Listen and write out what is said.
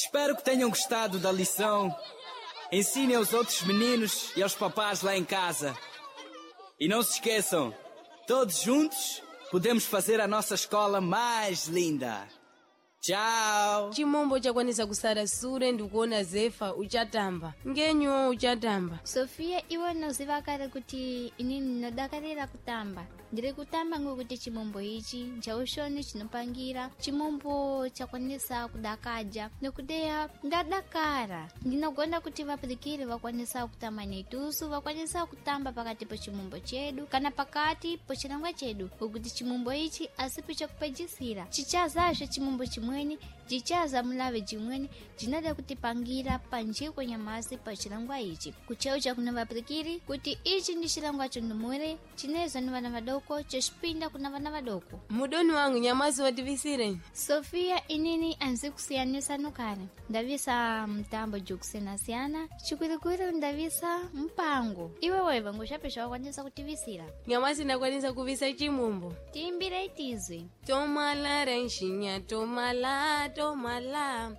Espero que tenham gostado da lição. Ensinem aos outros meninos e aos papás lá em casa. E não se esqueçam, todos juntos podemos fazer a nossa escola mais linda. Tchau! Chimombo chakwanisa kusara sure ndikuona Zefa uchatamba ngenyuwo uchatamba. Sofia, iwe unoziva kare kuti inini ndinodakarira kutamba. Ndiri kutamba ngokuti chimombo ichi nchaushoni chinopangira chimombo chakwanisa kudakaja nokudeya ndadakara. Ndinogona kuti vapurikiri vakwanisa kutamba netusu, vakwanisa kutamba pakati pechimombo chedu kana pakati pechirongwa chedu, ngokuti chimombo ichi asipi chekupedzisira, chichazazve chimombo chimweni, chichaza mulave jimweni jinoda kutipangira panjiko nyamasi pachirongwa ichi. Kucheucha kuna vapurikiri kuti ichi ndi chirongwa chondumure chinezwa ni vana vadoko, chechipinda kuna vana vadoko. Mudoni wangu, nyamasi wativisire. Sofia, inini anzi kusiyanisa nukare ndavisa mtambo jukusiyana-siyana, chikwirikwiri ndavisa mpango. Iwe weva ngoshape shawakwanisa kutivisira? Nyamasi ndakwanisa kuvisa chimombo. Tiimbire itizwi. Tomala renxinya, tomala, tomala.